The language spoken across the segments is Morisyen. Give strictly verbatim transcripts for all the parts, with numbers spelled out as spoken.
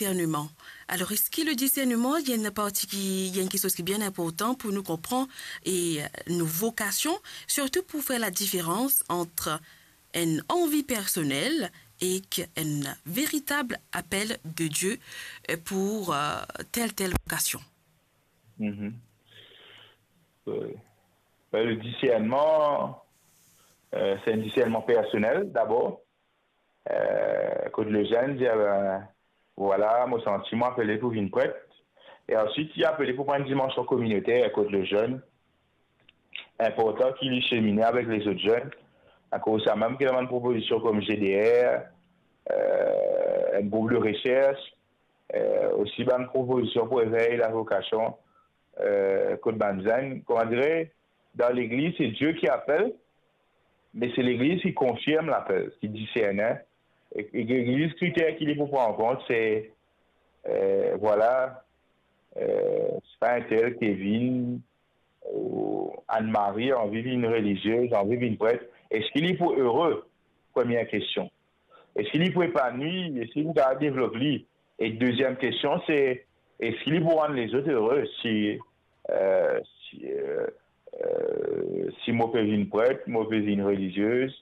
discernement. Alors, est-ce que le discernement, il y a une partie qui, il y a une quelque chose qui est bien important pour nous comprendre et euh, nos vocations, surtout pour faire la différence entre une envie personnelle et un véritable appel de Dieu euh, pour euh, telle, telle vocation? Mhm. Euh, ben, le discernement, euh, c'est un discernement personnel d'abord. Euh, kot lezenn dir, ben, vwala, mo santi mwa apele pou vinn pret. E answit, li apele pou pran enn dimansion kominoter kot lezenn. Inportan ki li semine avek lezot zenn. Akoz samem ki ena bann propozision kom G D R, euh, enn group de resers, euh, osi bann propozision pou evey lavokasion, euh, kot bann zenn. Kouma dire, dan legliz, se Dieu ki apel, me se legliz ki konfirm lapel, ki diserne. E, e legliz, kriter ki li pou pran an kont, se, euh, vwala, euh, se pa entel Kevin ou Anne-Marie anvi vinn reliziez, anvi vinn pret. Eski li pou ere? Premie kestion. Eski li pou epanwi? Eski li pou kapav devlop li? E deziem kestion, se, eski li pou rann lezot ere si, euh, si, euh, euh, si mo pe vinn pret, mo pe vinn reliziez,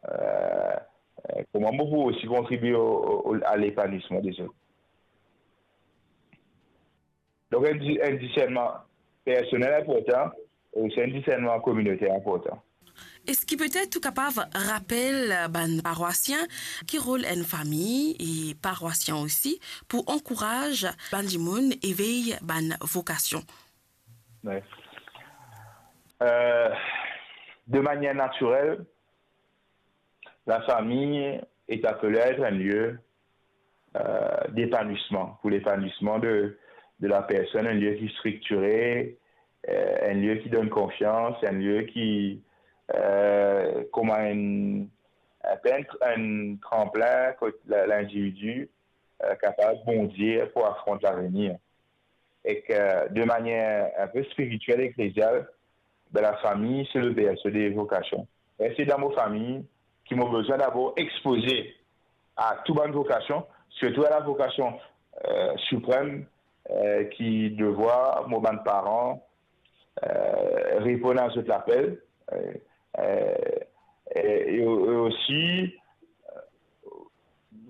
euh, euh, kouma mo pou osi kontribie o, o, o, a lepanwisman dezot? Donk, enn di-, enn disernman personel inportan, e osi enn disernman kominoter inportan. Eski petet ou kapav rapel bann parwasien ki rol enn fami e parwasien osi pou ankouraz bann dimoun evey bann vokasion? Ouais. Euh, de manière naturelle, la famille est appelée à être un lieu euh, d'épanouissement, pour l'épanouissement de, de la personne, un lieu qui est structuré, euh, un lieu qui donne confiance, un lieu qui, euh, kouma enn, enn, enn tranplin kot la, lindividi, euh, kapav bondi pou afront lavenir. E ki, de manière un peu spirituelle, ecclésiale, ben, la famille, c'est le berceau des vocations. E se dan mo fami ki mo bizin dabor expoze a tou bann vokasion, sirtou a la vokasion, euh, siprem, euh, ki devwar mo bann paran, euh, reponn a zot lapel, euh, euh, e, e, e osi, euh,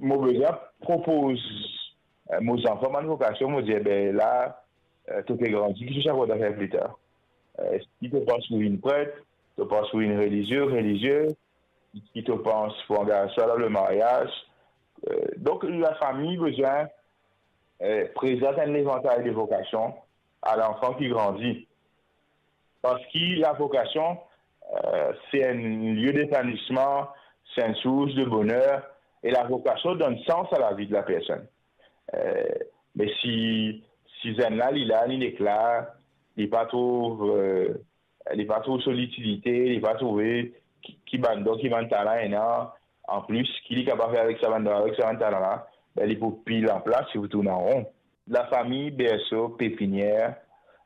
mo bizin propoz, euh, mo zanfan bann vokasion, mo dir, be la, euh, to pe grandi, ki to ti kontan fer pli tar? Euh, eski to pans pou vinn pret, to pans pou vinn relizie, reliziez, ki to pans pou angaz twa dan lemaryaz. Euh, donk, lafami bizin, euh, prezant enn levantay de vokasion a lanfan ki grandi. Parski lavokasion, euh, se enn lie depanwisman, se enn sours de boner, e lavokasion donn sans a lavi de la personn. Euh, me si, si zenn la, li la, li nek la, li pa trouv, euh, li pa trouv so litilite, li pa trouve ki, ki bann don, ki bann talan ena, anplis, ki li kapav fer avek sa bann don, avek sa bann talan la, be, li pou pil anplas, li pou tourn an ron. Lafami, berseau, pépinière,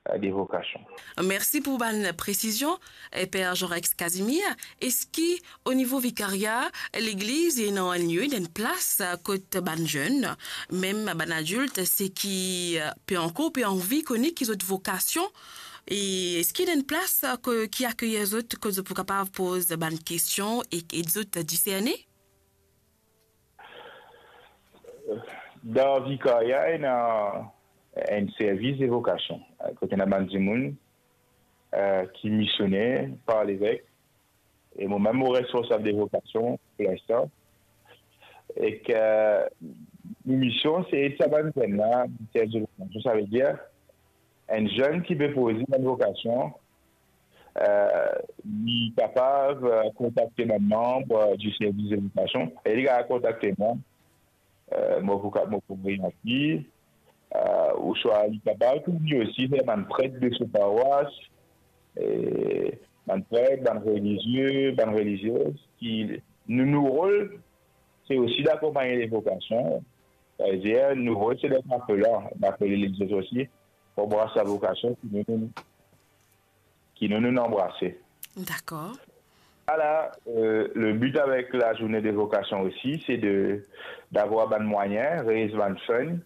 euh, des vocations. Mersi pou bann presizion, eh, Per Jean-Rex Casimir. Eski o nivo vikaria, legliz ena enn lie, ena enn plas, eh, kot bann zenn, mem bann adilt, seki, eh, pe ankor pe anvi kone ki zot vokasion, e eski ena enn plas, eh, ko-, ki akeyir zot, kot zot pou kapav poz bann kestion e, e zot diserne? Dan vikaria, ena enn servis de vokasion, kot ena bann dimoun, eh, ki misione par levek, e mo mem mo responsab de vokasion pou linstan. E ki, eh, mision, se ed sa bann zenn la, servis de vokasion, savedir enn zenn ki pe poze bann vokasion, eh, li kapav, eh, kontakte bann manb, eh, di servis de vokasion, e li kapav kontakte mwa, eh, mo pou ka-, mo pou orient li, eh, ouswa li kapav tou li osi fer bann pret de so parwas, eh, bann pret, bann relizie, bann reliziez, ki nou, nou rol, se osi d'akonpagn levokasion. Savedir, nou rol, se d'être appelant, d'appeler les autres aussi, pou anbras lavokasion ki nou, nou, ki nou, nou anbrase. Dakor. Ala, eh, le but avek la journée des vocations aussi, c'est de, d'avoir bann mwayin, raise bann fund,